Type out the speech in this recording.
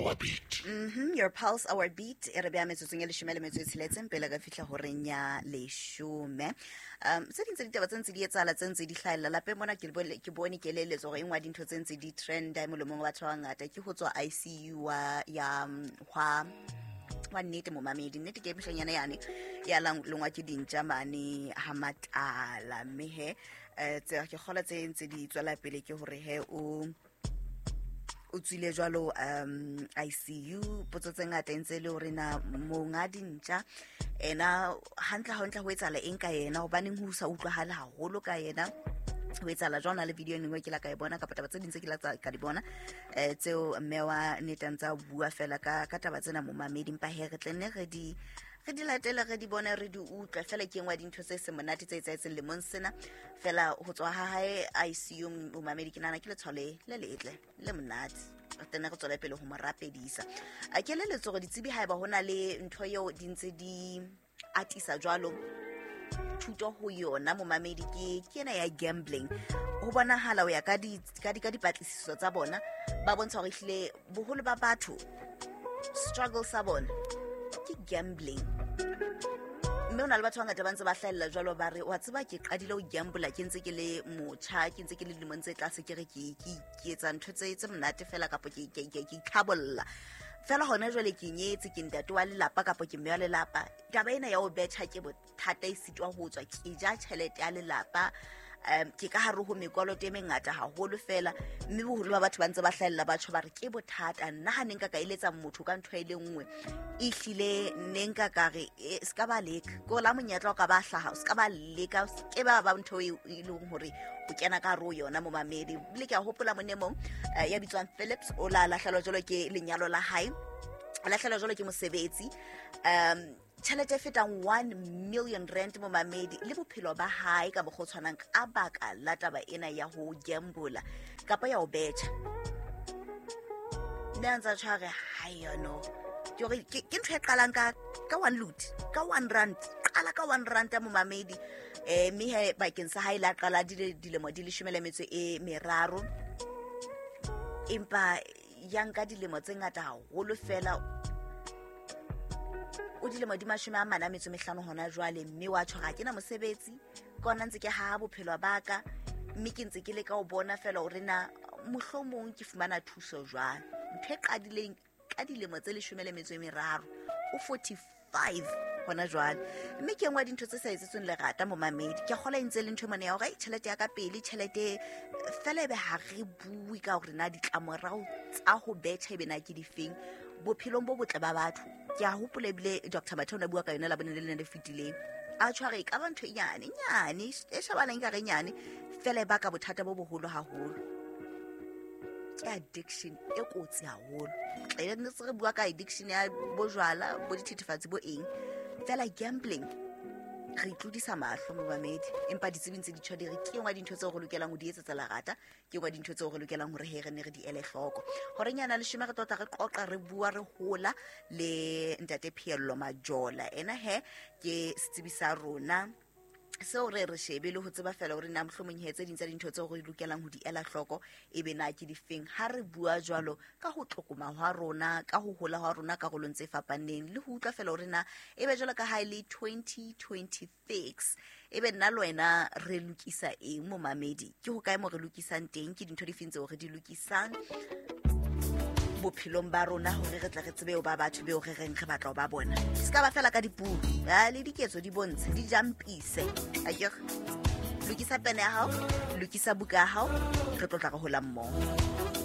our beat. Your pulse, our beat. E re beha metsotsong e leshome le metso e tsheletseng pele re fihla horeng ya leshome. Tse ding tsa ditaba tse ntse di etsahala, tse ntse di hlahella lapeng mona, ke bone ke eleletso hore e nngwe ya dintho tse ntse di trenda molomong wa batho ba bangata ke ho tswa ICU wa ya hwa wa nnete momamedi. Nnete ke moshanyana yane ya longwa ke dintja mane ha matala, mme he tse ke kgola tse ntse di tswela pele ke hore he o tswile jwalo ICU. Potso tse ngata e ntse e le hore na monga dintja ena hantle hantle ho etsahala eng ka yena, hobaneng ho sa utlwahale haholo ka yena, ho etsahala jwang. Na le video e nngwe ke la ka e bona, kapa taba tse ding tse ke la ka di bona, tseo mme wa nnete a ntse a bua fela ka taba tsena momamedi. Empa he re tle nne re di latele, re di bone, re di utlwe fela. Ke engwe ya dintho tse seng monate tse etsahetseng lemong sena fela, ho tswa ha hae ICU momamedi. Ke nahana ke letshwao le letle le monate, re tenne re tswele pele ho mo rapedisa. A ke leletso hore ditsebi haeba ho na le ntho eo di ntse di atisa jwalo thuto ho yona momamedi, ke ena ya gambling. Ho bonahala ho ya ka dipatlisiso tsa bona, ba bontsha hore ehlile boholo ba batho struggle sa bona ke gambling, mme ho na le batho ba bangata ba ntse ba hlahella jwalo, ba re wa tseba ke qadile ho gambola ke ntse ke le motjha, ke ntse ke le dilemong tse tlase, ke re ke etsa ntho tse monate fela, kapa ke itlhabolla fela. Hona jwale ke nyetse, ke ntate wa lelapa kapa ke mme wa lelapa, taba ena ya ho betjha ke bothata, e sitwa ho tswa, ke ja tjhelete ya lelapa, ke ka hare ho mekoloto e mengata haholo fela. Mme boholo ba batho ba ntse ba hlahella batho ba re ke bothata. Nna ha ne nka ka eletsa motho ka ntho e le nngwe, ehlile ne nka ka re, se ka ba leka, ke la monyetla o ka ba hlaha, o se ka ba leka, o se ke ba ba ntho e leng hore o kena ka hare ho yona momamedi. Ebile ke a hopola mone mong, ya bitswang Phillips, o la lahlehelwa jwalo ke lenyalo la hae, a lahlehelwa jwalo ke mosebetsi, tjhelete e fetang R1 million momamedi, le bophelo ba hae ka mokgwa o tshwanang, ka baka la taba ena ya ho gambola kapa ya ho betjha. Mme a ntse a tshware hayono ke hore ke ntho e qalang ka one loot, ka R1, qala ka R1 momamedi. Mme he bakeng sa hae la qala dilemo di leshome le metso e meraro, empa ya nka dilemo tse ngata haholo fela. O dilemo di 45 hona jwale, mme wa tjho, ga ke na mosebetsi, ke ona ntse ke haha bophelo ba ka, mme ke ntse ke leka ho bona fela hore na mohlomong ke fumana thuso jwang. Ntho e qadileng ka dilemo tse 13, o 45 hona jwale. Mme ke engwe ya dintho tse sa etsetsweng lerata momamedi. Ke kgola e ntse le ntho e mone ya hore, "Ai, tjhelete ya ka pele, tjhelete fela," ebe ha re bue ka hore na ditlamorao tsa ho betjha ebe na ke difeng bophelong bo botle ba batho. Ke a hopola ebile Dr Mathe o ne a bua ka yona labone le lene le fetileng, a tshware e ka ba ntho e nyane nyane, e shebanang ka re nyane fela, e baka bothata bo boholo haholo. Ke addiction e kotsi haholo. Tle ne se re bua ka addiction ya bojwala, bo dithethefatsi, bo eng fela, gambling re itlodisa mahlo momamedi. Empa ditsebi ntse di tjho, di re ke engwe ya dintho tseo re lokelang ho di etsetsa lerata, ke engwe ya dintho tseo re lokelang hore he re ne re di ele hloko. Horeng yana leshome re tlotla, re qoqa, re bua, re hola le ntate Phiello Majola. Ena he ke setsebi sa rona seo re shebe le ho tseba fela hore na mohlomong he tse ding tsa dintho tseo re lokelang ho di ela hloko e be na ke difeng ha re bua jwalo ka ho tlokoma hwa rona, ka ho hola hwa rona karolong tse fapaneng, le ho utlwa fela hore na e be jwalo ka ha e le 2026, e be nna le wena re lokisa eng momamedi, ke ho kae mo re lokisang teng, ke dintho difeng tseo re di lokisang bophelong ba rona hore re tle re tsebe ho ba batho beo re reng re batla ho ba bona. Se ka ba fela ka dipuo, le diketso di bontshe, di jampise akere. Lokisa pene ya hao, lokisa buka ya hao, re tlo tla re hola mmoho.